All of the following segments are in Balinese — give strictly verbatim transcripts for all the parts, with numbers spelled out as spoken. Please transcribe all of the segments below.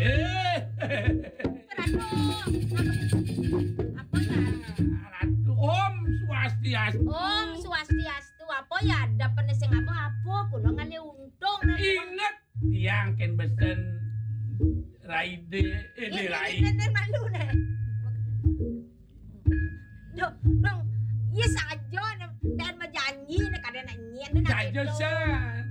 Eh, Ratu, apa ya? Ratu, Om Swastiastu. Om Swastiastu, apa ya? Ada pene sing apa-apa, kula ngalih untung. Inget, tiang ken besen raide, eh, ini, ini, rai. Ini, ini malu nih. Duh, dong, iya saja, dan berjanji nih, kadang nak nyet, nak. Saja gitu. San.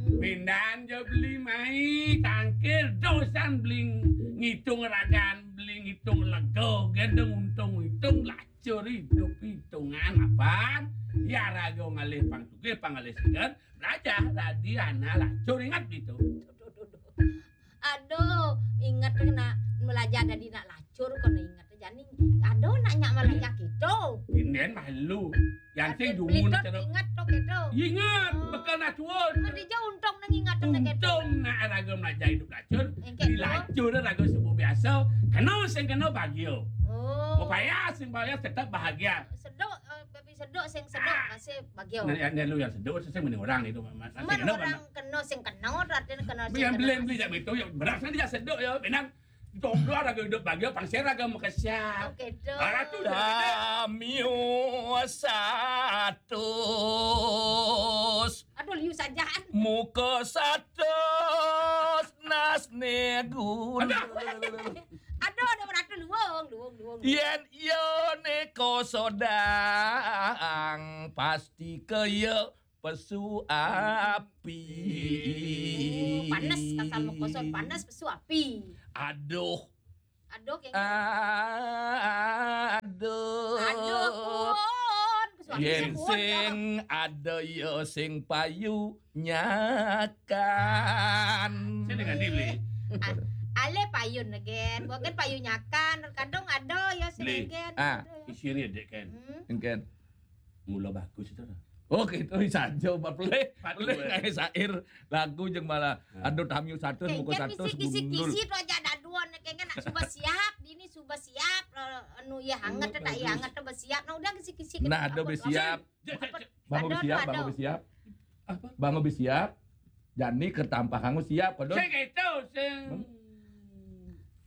Hmm. Pindahan jo beli mai tangkil, dosan beli ngitung ragan, beli ngitung lego, gendeng untung hitung, lacur hidup hitungan apaan? Ya raga ngalih pang tugih, pang ngalih seger, belajar dadi anak lacur, ingat gitu. Aduh, inget kena belajar dadi nak lacur, kena inget jani. Aduh, nak nyak belajar gitu. Inden malu. Yang sing dumun cara inget tok gitu. Inget, oh. Bekal nak tuun. Ngerti je untung nang inget tok gitu. Untung nak raga belajar hidup lacur. Engke di lacur raga sebut biasa. Kena sing kena bahagia. Oh. Upaya sing upaya tetap bahagia. Sedok, eh, tapi sedok sing sedok masih bahagia. Nah, yang, yang lu yang sedok, sing mending orang itu, Mas. Sing kena orang kena, sing kena, artinya kena sing yang kena. Beli, beli, tak betul, yang beras nanti ya sedok ya, benang. Jodoh raga hidup bahagia, pang sing raga makesiap. Oke, dong. Arah tu dah. Damio satus. Aduh, liu sajaan. Muka satus nas negun. Aduh. Aduh, ada beratu luung, luung, luung. Yen iya nika sodang, pasti kaya pesu api. Oh, panas kasar mukosot, panas pesu api. Aduh. Aduh, kayaknya. Aduh. Aduh, pun. Pesu api. Yen sing ada ya sing payu nyakan. Sing dengan dia beli. Ah, ale payun again. Bukan payu nyakan. Kadang ada ya sing beli. Again. Ah. Ada ya. Isi ni dek kan. Hmm. Engken. Mula bagus itu dah. Oh, gitu, saja, Mbak Pelih. Pelih kayak syair, lagu jeung malah, aduh, tamiu satus, muka satus, kisi-kisi gundul. Kisi tu aja ada dua, nih, kayaknya nak suba siap, ini suba siap, lo, anu, ya, hangat, tak, ya, hangat, tu, siap. Nah, udah kisi-kisi. Nah, ada be siap. Bangun be siap, bangun be siap. Apa? Bangun be siap. Jani kertampah kamu siap, kodon. Sing itu, sing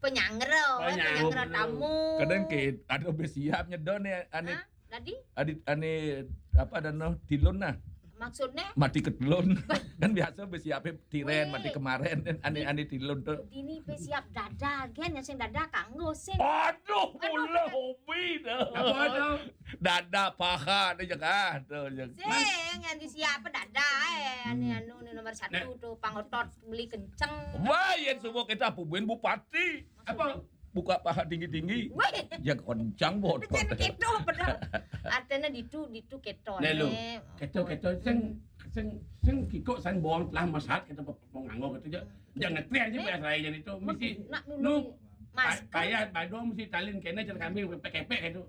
penyanggra, penyanggra tamu. Kadang ke, ada be siap nyedon ya, ane. Hah? Tadi? Adi, ane, apa, ada no, tilun nah. Maksudnya? Mati ketelun. Kan biasa be siap tiren, mati kemarin, ane, ane tilun tu. Dini be siap dada, gen, yang sing dada kanggo, sing. Aduh, mula hobi dah. Apa tu? Dada paha ni je kah, tu je. Sing, yang disiap dada, eh, ane anu ni nomor satu tu, pangotot beli kenceng. Wah, yang semua kita pubuin bupati. Apa? Buka paha tinggi-tinggi. Weh. Ya kencang bot. Jen keto bener. Artinya ditu, ditu keto. Nah, lu. Keto, keto, sing, sing, sing kikok, sing bohong telah masat, kita pe-, pe-, penganggo gitu je. Jangan ngetren je biasa aja itu. Mesti nak dulu. Lu, masker. Payah, badong mesti talin kena cara kami kepek-kepek gitu.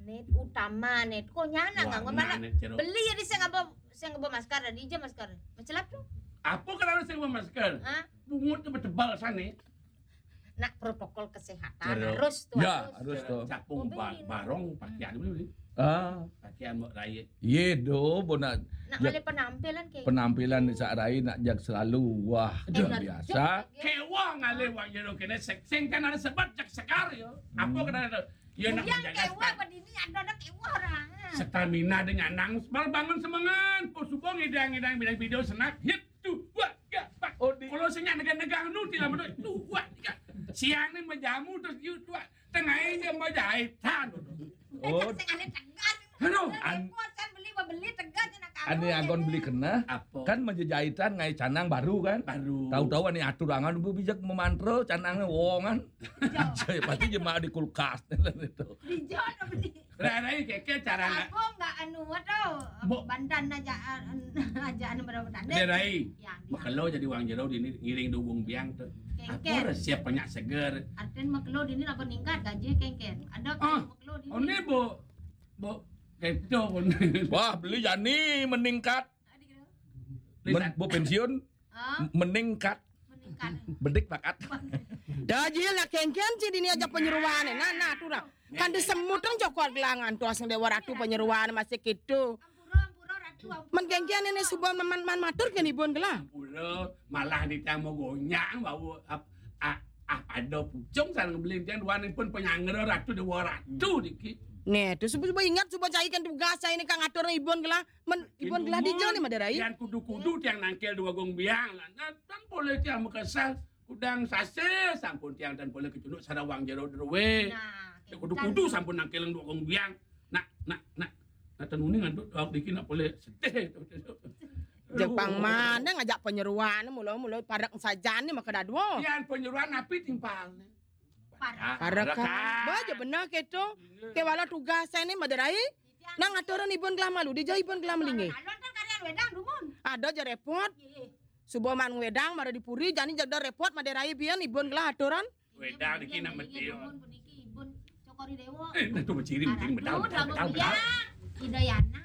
Net utama net. Kok nyana nggak ngomong? Beli ya di sing apa, sing apa masker, tadi je masker. Macelap tu. Apa kerana sing apa masker? Hah? Pungut tu bertebal sana. Nak protokol kesehatan harus tu. Ya, harus tu. Capung barong pakaian dulu ni. Ah. Pakaian buat raya. Ye do, bona. Nak kali penampilan ke. Penampilan di saat raya nak jak selalu. Wah, biasa. Kewang ale wak jero kena sing kan ada sebab jak sekar yo. Apa kena ada? Yo nak yang kewang berdini ada, ada kewang orang. Stamina dengan nang, bangun semangat. Kau subuh ngidang-ngidang bidang video senak hit. Tu, wah, ya, pak. Oh, di- kalau senyap negang-negang nu, tilam tu, tu, wah, ya. Siang ni menjamu terus, you, tu, wah. Tengah ini menjahitan. Oh. Sing ada tegas. Aduh, an- repot kan beli, beli tegas nak kamu. Ane agon beli kena. Apa? Kan menjejahitan ngai canang baru kan? Baru. Tahu-tahu ane atur angan bu bijak memantra canangnya wongan. Saya pasti jemaah di kulkas itu. Dijol beli. Rai, rai, keke cara nak. Aku nggak anu tu. Bantan aja, aja anu berapa tanda. Rai. Makelo jadi wang jero dini ngiring dugung biang tu. Kengken. Apa resep banyak seger. Artin makelo dini apa ningkat gaji kengken. Ada makelo dini. Oh, ni bu, bu, keto pun. Wah, beli jani meningkat. Bu pensiun. Meningkat. Bedik pakat. Dajil nak kengken ci dini aja penyeruan. Nah, nah, tu dah. Kan disemut kan Joko Gelangan tu asing Dewa Ratu penyeruan masih gitu. Men kengken ini subuh man, man matur kan ibun gelang. Pura malah ditemu gonyang bawa ap-, a-, a-, Ada pucung sareng beling tiang duaning pun panyanggra ratu dewa ratu niki. Nah, terus suba, suba ingat, suba caikan tugas saya ini kang atur ibun gelah. Men, ibun gelah dija nih Madé Rai. Tiang kudu-kudu tiang nangkil dua gong biang lah. Nah, tan boleh tiang makesel. Kudang sasih sampun tiang tan boleh kecunduk sarawang jero druwe. Nah, Ya kudu-kudu sampun nangkil dua gong biang. Nak, nak, nak. Nah, tenuni ngantuk awak diki nak boleh sedih. Jepang mana ngajak penyeruan mula-mula parek sajan nih maka dadua. Tiang penyeruan napi timpal nih. Parek. Parek. Ba ja bener keto. Kewala tugas saya nih Madé Rai. Nang aturan ibun gelah malu, dija ibun gelah melinggi. Alon kan karya wedang dumun. Ada ja repot. Iya. Suba man wedang mara di puri, jani jada repot Madé Rai bian ibun gelah aturan. Wedang niki nak mati. Dumun puniki ibun cokori dewa. Eh, nah tu menciri menciri medal medal medal medal. Idayana.